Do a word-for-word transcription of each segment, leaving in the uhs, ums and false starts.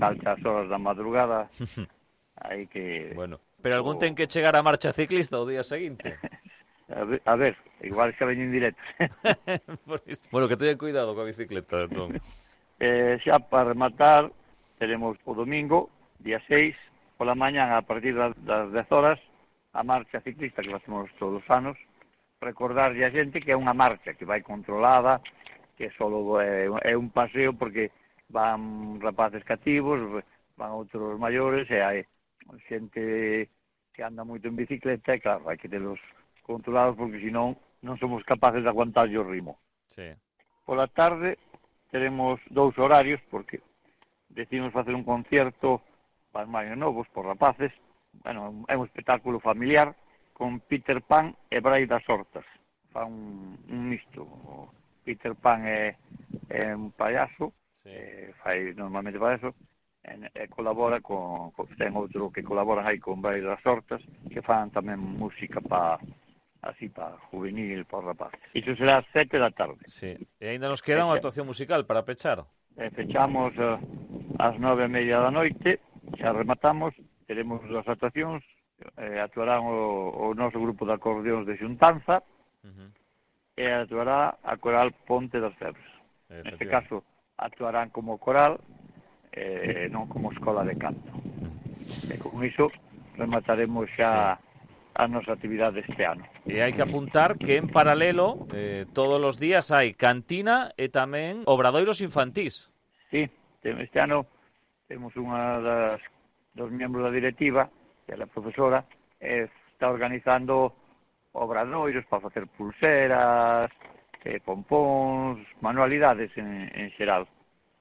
altas horas da madrugada, hai que... Bueno, pero algún ten que chegar a marcha ciclista o día seguinte. A ver, a ver, igual xa veñen directo. Bueno, que teñan cuidado coa bicicleta, entón. eh, xa para rematar, teremos o domingo, día seis, pola mañán, a partir das dez horas, a marcha ciclista que facemos todos os anos, recordarlle a xente que é unha marcha que vai controlada, que só é, é un paseo porque van rapaces cativos, van outros maiores, e hai xente que anda moito en bicicleta, e claro, hai que telos controlados porque senón non somos capaces de aguantar o ritmo. Sí. Pola tarde teremos dous horarios porque decidimos facer un concierto para os máis novos, por rapaces. Bueno, é un espectáculo familiar con Peter Pan e Brai das Hortas. Fa un, un misto. O Peter Pan é, é un payaso, sí. eh, fai normalmente payaso, e, e colabora con, con ten outro que colaboran aí con Brai das Hortas, que fan tamén música para así para juvenil, para rapaces. Iso será ás sete da tarde. Sí. E ainda nos queda unha actuación musical para pechar. E fechamos uh, ás nove e media da noite, xa rematamos, teremos dúas actuacións, eh, actuarán o, o noso grupo de acordeóns de Xuntanza, uh-huh. e actuará a coral Ponte das Febres. Neste caso, actuarán como coral, eh, non como escola de canto. Uh-huh. E con iso remataremos xa... Sí. a nosa actividade este ano. E hai que apuntar que en paralelo eh, todos os días hai cantina e tamén obradoiros infantís. Sí, este ano temos unha das dos membros da directiva, que é a profesora, e está organizando obradoiros para facer pulseras, eh, pompóns, manualidades en, en xeral.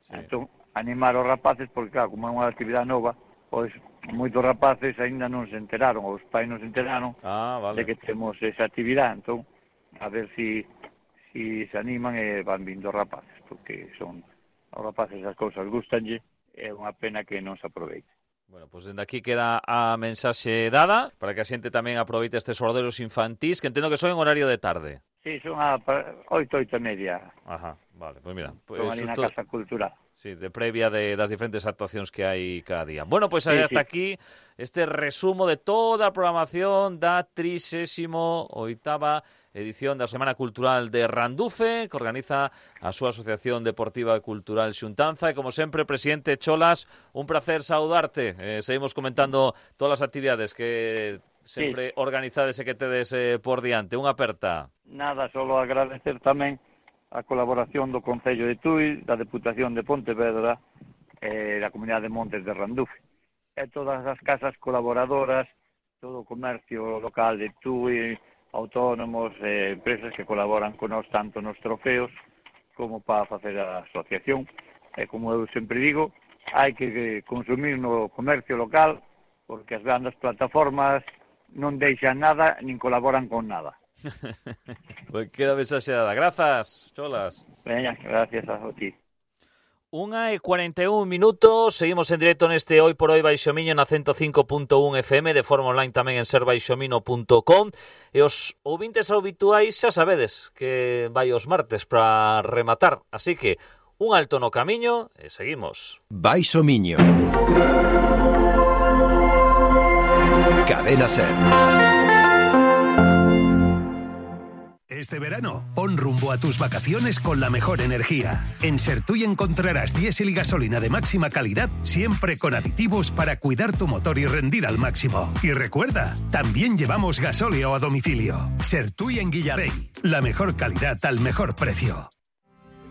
Sí. Entón, animar os rapaces, porque claro, como é unha actividade nova, pois moitos rapaces aínda non se enteraron, os pais non se enteraron ah, vale. de que temos esa actividade, entón, a ver si, si se animan e van vindo rapaces, porque son os rapaces as cousas gustanlle, é unha pena que non se aproveite. Bueno, pois pues dende aquí queda a mensaxe dada, para que a xente tamén aproveite estes obradoiros infantís, que entendo que son en horario de tarde. Sí, son a oito, oito e media. Ajá, vale, pois pues mira. Pues son ali na Casa Cultural. Sí, de previa de, das diferentes actuacións que hai cada día. Bueno, pois pues sí, hasta sí. aquí este resumo de toda a programación da trixésima oitava edición da Semana Cultural de Randufe, que organiza a súa Asociación Deportiva e Cultural Xuntanza. E, como sempre, presidente Cholas, un placer saudarte. Eh, seguimos comentando todas as actividades que sempre sí. organizades e que tedes eh, por diante. Unha aperta. Nada, solo agradecer tamén a colaboración do Concello de Tui, da Deputación de Pontevedra e da Comunidade de Montes de Randufe. E todas as casas colaboradoras, todo o comercio local de Tui, autónomos, eh, empresas que colaboran con nós tanto nos trofeos como para facer a asociación. E como eu sempre digo, hai que consumir no comercio local porque as grandes plataformas non deixan nada nin colaboran con nada. Pues queda mensaxeada. Grazas, Cholas. Veña, gracias a ti. Unha e cuarenta e un minutos, seguimos en directo neste Hoy por Hoy Baixomiño na ciento cinco punto un F M, de forma online tamén en ser baixomino punto com. E os ouvintes habituais xa sabedes que vai os martes para rematar, así que un alto no camiño e seguimos. Baixomiño. Cadena Ser. Este verano, pon rumbo a tus vacaciones con la mejor energía. En Sertui encontrarás diésel y gasolina de máxima calidad, siempre con aditivos para cuidar tu motor y rendir al máximo. Y recuerda, también llevamos gasóleo a domicilio. Sertui en Guillarey, la mejor calidad al mejor precio.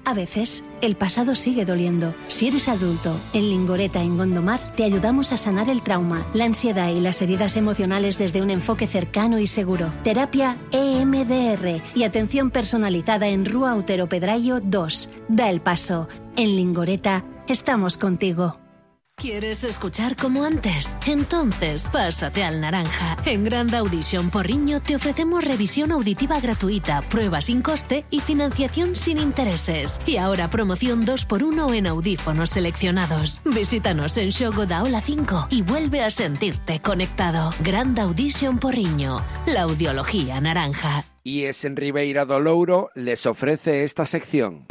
A veces, el pasado sigue doliendo. Si eres adulto, en Lingoreta, en Gondomar, te ayudamos a sanar el trauma, la ansiedad y las heridas emocionales desde un enfoque cercano y seguro. Terapia E M D R y atención personalizada en Rúa Otero Pedrayo dos. Da el paso. En Lingoreta, estamos contigo. ¿Quieres escuchar como antes? Entonces, pásate al Naranja. En Grand Audition Porriño te ofrecemos revisión auditiva gratuita, prueba sin coste y financiación sin intereses. Y ahora promoción dos por uno en audífonos seleccionados. Visítanos en Xogo da Ola cinco y vuelve a sentirte conectado. Grand Audition Porriño, la audiología naranja. I E S en Ribeira do Louro les ofrece esta sección.